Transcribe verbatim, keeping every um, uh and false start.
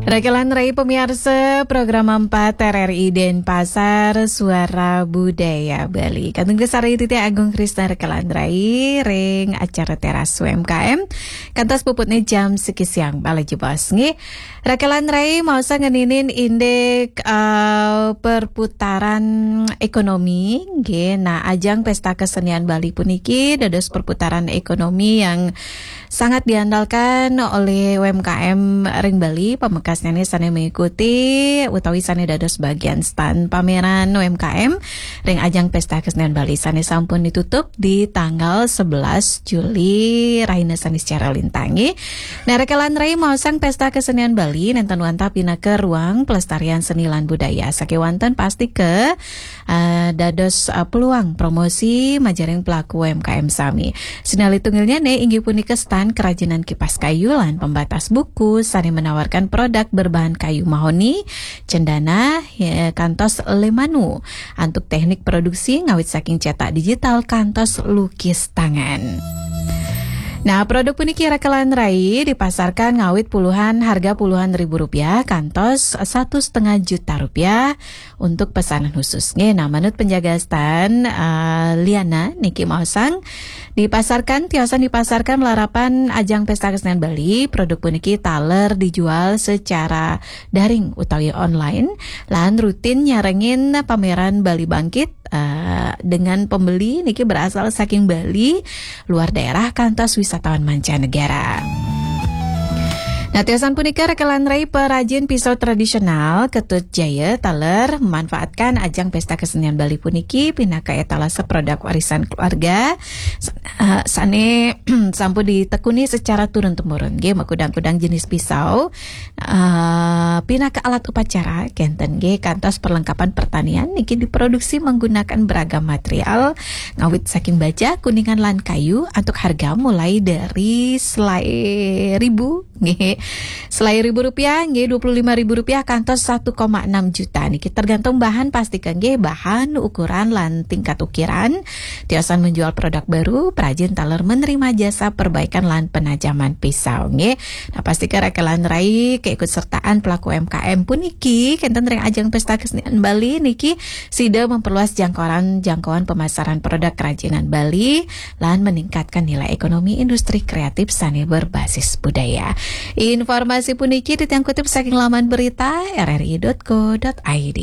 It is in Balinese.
Rakelan Rai pamiarsa, program empat R R I Denpasar, Suara Budaya Bali. Kantun kasarengin titiang Agung Krisna Rakelan Rai ring acara Teras U M K M. Kantos puputnya jam siki siang, bala jebos nggih. Rakelan Rai maosang ngeninin indik, eh, perputaran ekonomi nggih. Nah, ajang Pesta Kesenian Bali puniki dados perputaran ekonomi yang sangat diandalkan oleh U M K M ring Bali, pamekasnyané sané mengikuti utawi sané dados bagian stand pameran U M K M ring ajang Pesta Kesenian Bali sané sampun ditutup di tanggal sebelas Juli rahina Saniscara lintang nggih. Nah, Rakelan Rai maosang Pesta Kesenian Bali nénten wantah pinaka ruang pelestarian seni lan budaya. Sakéwanten pastika eh, dados, eh, peluang promosi majaring pelaku U M K M sami. Sinalih tunggilnyané inggih punika stand kerajinan kipas kayu lan pembatas buku sané menawarkan produk berbahan kayu mahoni, cendana, ya, kantos lemanu. Antuk teknik produksi ngawit saking cetak digital kantos lukis tangan. Nah, produk puniki Rakelan Rai dipasarkan ngawit puluhan, harga puluhan ribu rupiah kantos satu setengah juta rupiah untuk pesanan khusus. Nggih, nah, manut penjaga stand, eh, Liana niki maosang, dipasarkan, tiosan dipasarkan malarapan ajang Pesta Kesenian Bali, produk puniki taler dijual secara daring utawi online, lan rutin nyarengin pameran Bali Bangkit, eh, dengan pembeli niki berasal saking Bali, luar daerah, kantos wisatawan mancanegara. Nah, tiosan punika Rakelan Rai perajin pisau tradisional Ketut Jaya taler memanfaatkan ajang Pesta Kesenian Bali puniki pinaka etalase produk warisan keluarga sa-, eh, sané sampun ditekuni secara turun-temurun nggih, makudang-kudang jenis pisau, eh, pinaka alat upacara kénten nggih, kantos perlengkapan pertanian niki diproduksi menggunakan beragam material ngawit saking baja, kuningan lan kayu, antuk harga mulai dari selai ribu nggih. Selai ribu rupiah nggih, dua puluh lima ribu rupiah kantos satu koma enam juta niki, tergantung bahan pastika nggih, bahan, ukuran lan tingkat ukiran. Tiosan menjual produk baru, perajin taler menerima jasa perbaikan lan penajaman pisau nggih. Nah, pastika Rakelan Rai keikutsertaan pelaku U M K M puniki kénten ring ajang Pesta Kesenian Bali niki sida memperluas jangkauan, jangkauan pemasaran produk kerajinan Bali lan meningkatkan nilai ekonomi industri kreatif sané berbasis budaya. Informasi puniki titiang kutip saking laman berita R R I dot co dot I D.